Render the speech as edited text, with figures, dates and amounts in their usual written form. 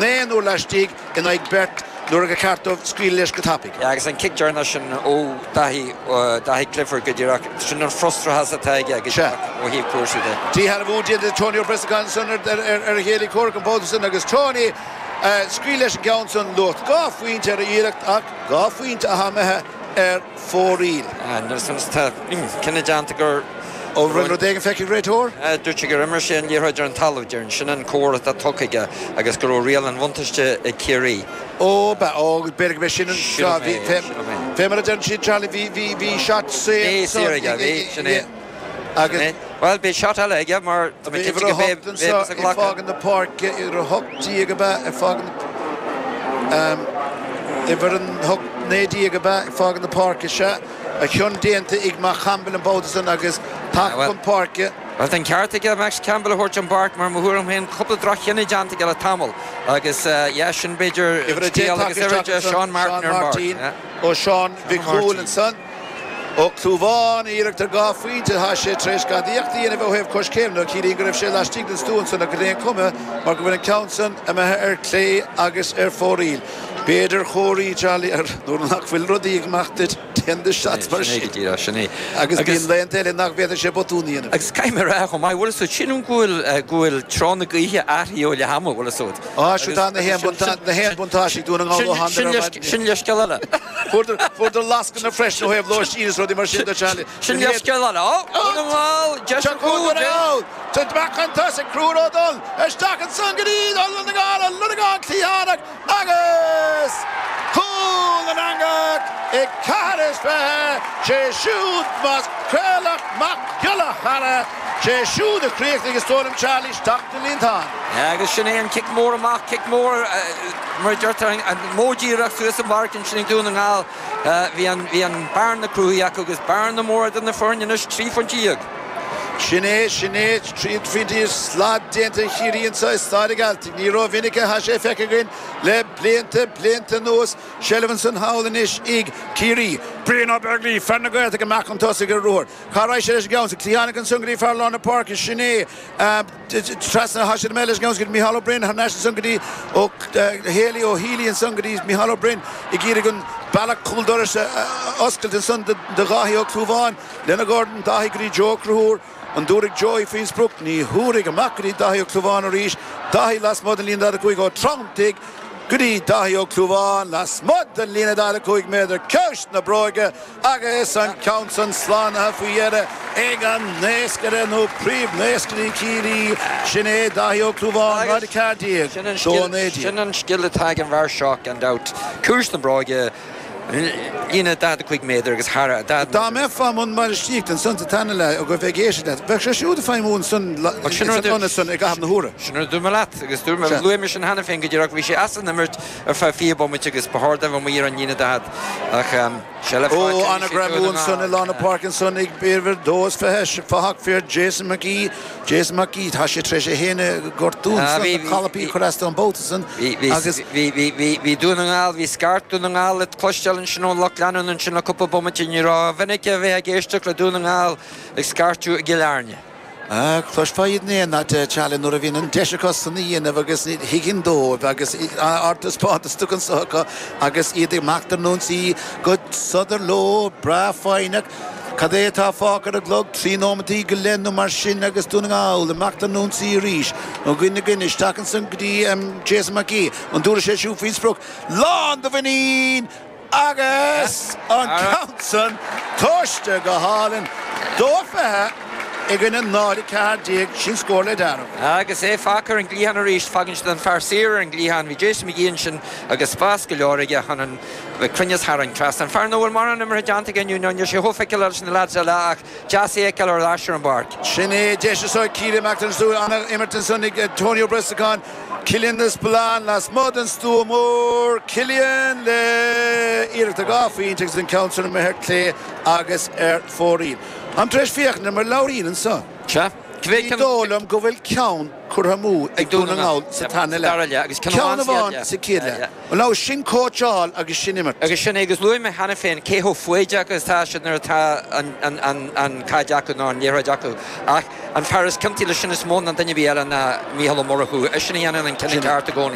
Naonúr laistigh in aghaidh beirt nuair a ba cheart dóibh scaoileadh leis go tapaidh. Yeah, agus an cic deireanach sin ó Daithí, Daithí Clifford go díreach, sin an frustrachas atá aige go díreach ó thaobh cúrsaí de. Díshealbhú déanta ag Tony Ó Brosnacháin ansan ar a chéile comhraic an babhta san agus Tony scaoil leis an gceann san luach 2 phointe ar a iarracht ach 2 phointe atá imithe ar fóraoil. Tá cinneadh déanta gur. Ó rinne rud éigin feicthe ag réiteoir? Dúirt sé gur imir sé an liathróid ar an talamh, déarfainn. Sin an comhartha atá tugtha aige agus go raibh riail an bhuntáiste ag Ciarraí. Ó, ba, ó, b'fhéidir go mbeidh sin an, Sílim é, fé, sílim é. fé mar a deireann siad, Charlie, bhí, bhí, bhí shot saor Bhí saor aige, bhí, sin é. Agus. Sin é. Bhuel, beidh shot eile aige mar tá mé Bhí cinnte uimhir go a mbeidh, hocht anseo beidh ag ag glacadh. fágaint na páirce, uimhir 18 ab ea ag fágaint na, uimhir an hocht, 19 ab ea ag fágaint na páirce, sea. A chion déanta ag Mac Campbell an babhta san agus tagtha chun páirce. Bhuel, tá an ceart aige Max Campbell a thabhairt ón bpáirc mar, mo thuairim féin, cúpla droch-chinneadh déanta aige le tamall agus yeah, sin b'fhéidir Uimhir 10 scéal tagtha agus uimhir isteach 10 ansan, Seán Martin Seán ar an Martin mbord. ó Seán Mhic Seán Cumhaill Martin. ansan. Ó Clúmháin, iarracht ar 2 phointe, tá sé tar éis gadaíocht a dhéanamh ó thaobh coiscéim nó ciallaíonn go raibh sé laistigh den stua ansan ach ar aon chuma mar go bhfuil an ceann san imithe ar clé agus ar fóraoil. B'fhéidir chóirí, Charlie, ar nuair nach bhfuil rudaí ag imeacht duit, déan do shots mar Sin é sin. go díreach, sin é. Agus bíonn laethanta eile nach bhféadfadh sé botún a dhéanamh. Agus caithfidh mé a rá chomh maith, bhfuil a fhios agat, sílim go bhfuil, go bhfuil treo na gaoithe athraithe ó leath ama, bhfuil a fhios agat. Á, siúd tá na haon buntáiste ag Dún na nGall ó tháinig ar maidin. Sin leithscéal eile. Fuaireadar lascaine freisin ó thaobh lóistín is rudaí mar sin do Charlie. Sin leithscéal eile. Ó, Dún na nGall, deis Seo an chúl, Dún na nGall. Tit amach chun tosaigh, Conchúr Ó Dul, isteach ansan go dtí Lonegan, Lonegan cliathánach agus cúl na n-eangach ag 24, sé siúd más Traolach Mac Giolla Chearra, sé siúd a chríochnaigh is dóigh liom Charlie isteach den líontán. Agus sin é an cic mór amach, cic mór mar a deirtear, an modh díreach suas an bpáirc ansin ag Dún na nGall. Bhí an, bhí an bearna cruthaithe acu agus bearna mór idir na foirne anois, 13 phointe. Sin é, sin é, 13 phointe, slad déanta ag Ciarraí anseo i Staid an Ghealtaigh. Ní rómhinic atá sé feicthe againn le blianta, blianta anuas. Seilbh ansan thall anois ag Ciarraí. Brian Ó Beaglaoich, fear na Gaeltachta, amach chun tosaigh ar ruathar. Cá raghaidh sé leis an gceann san? Cliathánach ansan go dtí fear lár na páirce, sin é. Trasna atá siad imithe leis an gceann san go dtí Micheál Ó Broin, thar n-ais ansan go dtí Ó Héalaí, Ó Healy ansan go dtí Micheál Ó Broin ag iarraidh an bealach cúl dorais a oscailt ansan do Dháithí Ó Clúmháin. Lena dhorn, Dáithí go dtí Joe Ó Conchúir. An dtabharfaidh Joey faoin sprioc? Ní thabharfaidh. Amach go dtí Dáithí Ó Clúmháin arís. Dáithí lasmuigh den líne 45 Ó Treanntaigh go dtí Dáithí Ó Clúmháin lasmuigh den líne 45 méadar. Ciumhais na bróige agus an ceann san slánaithe faoi dheireadh ag an naoscaire nó príomhnaoscairí Chiarraí. Sin é Dáithí Ó Clúmháin, 0-14, 2-19. Sin an scil atá ag an bhfear seo gan dabht. Ciumhais na bróige. Líne 45 méadar agus thar 40 méadar. Dá mbeifeá i mbun bainistíochta ansan sa tarna leath agus bheith ag éisteacht leat, bheadh sé siúd ag feidhmiú ansan san ionad san i gcaitheamh na huaire. Sin rud a dúirt mé leat agus dúirt mé, luaigh mé sin cheana féin go díreach, bhí sé as an imirt ar feadh 20 bomaite agus ba chóir dó bheith amuigh ar an líne 40 ach seilbh Ó, faighte anois ag an-ghreamú Dún na ansan i nGall. lár na páirce ansan ag uimhir 22, fathach fir Jason McGee. Jason McGee, tá sé tar éis é féin a ghortú ansan, na calapaí a chur as dó an babhta san agus. Bhí, bhí, bhí, bhí Dún na nGall, bhí scairt Dún na nGall le cloisteáil ansin ón lucht leanúna ansin le cúpla bomaite. Ní rómhinic a bheifeá ag éisteacht le Dún na nGall ag scairteadh i gCill Airne. Cloisfeá iad in aon áit, Charlie, nuair a bhíonn an deis acu san a dhéanamh agus ní thuigeann dóibh agus ardtaispeántas tugtha anso acu agus iad ag imeacht ar an ionsaí go sodar leo, breá foighneach. Cad é atá fágtha ar an gclog? Trí nóimeataí go leith nó mar sin agus Dún na nGall ag imeacht ar an ionsaí arís. Ó dhuine go duine, isteach ansan go dtí Jason McGee. An dtabharfaidh sé siúd faoin sprioc? Lán de mhuinín agus an ceann san tomhaiste go hálainn. 2-20 i gcoinne 0-14, sin scór le dealramh. Agus é fágtha ar an gcliathán arís, fágann siad an fear saor ar an gcliathán. Bhí Jason McGee ansin agus spás go leor aige chun an. Bheith cruinneas thar an trasnán. Fear nach bhfuil mórán imeartha déanta aige inniu, níl sé chomh feiceálach leis na leaids eile ach deas é a fheiceáil ar ais ar an bpáirc. Sin é deis anseo ag Ciarraí imeacht ar an súil. An-imirt ansan ag Tony Ó Brosnacháin. Cillian de Spalán lasmuigh den stua mór. Cillian le iarracht ar 2 phointe agus an ceann san imithe ar clé agus ar fóraoil. Táim tar éis féachaint ar mo leabhairín anso. Sea. Ní dóigh liom go bhfuil ceann curtha amú ag Dún na nGall sa tarna leath. Ceann amháin sa chéad leath. Bhuel, sin cóitseáil agus sin imirt. Agus sin é, agus luaigh mé cheana féin cé chomh foighdeach agus atá siad nuair atá an chaid acu nó an liathróid acu. Ach an fear is ciontaí leis sin is mó ná duine ar bith eile ná Mícheál Ó Murchú. Eisean a dhéanann an cinneadh ceart i gcónaí.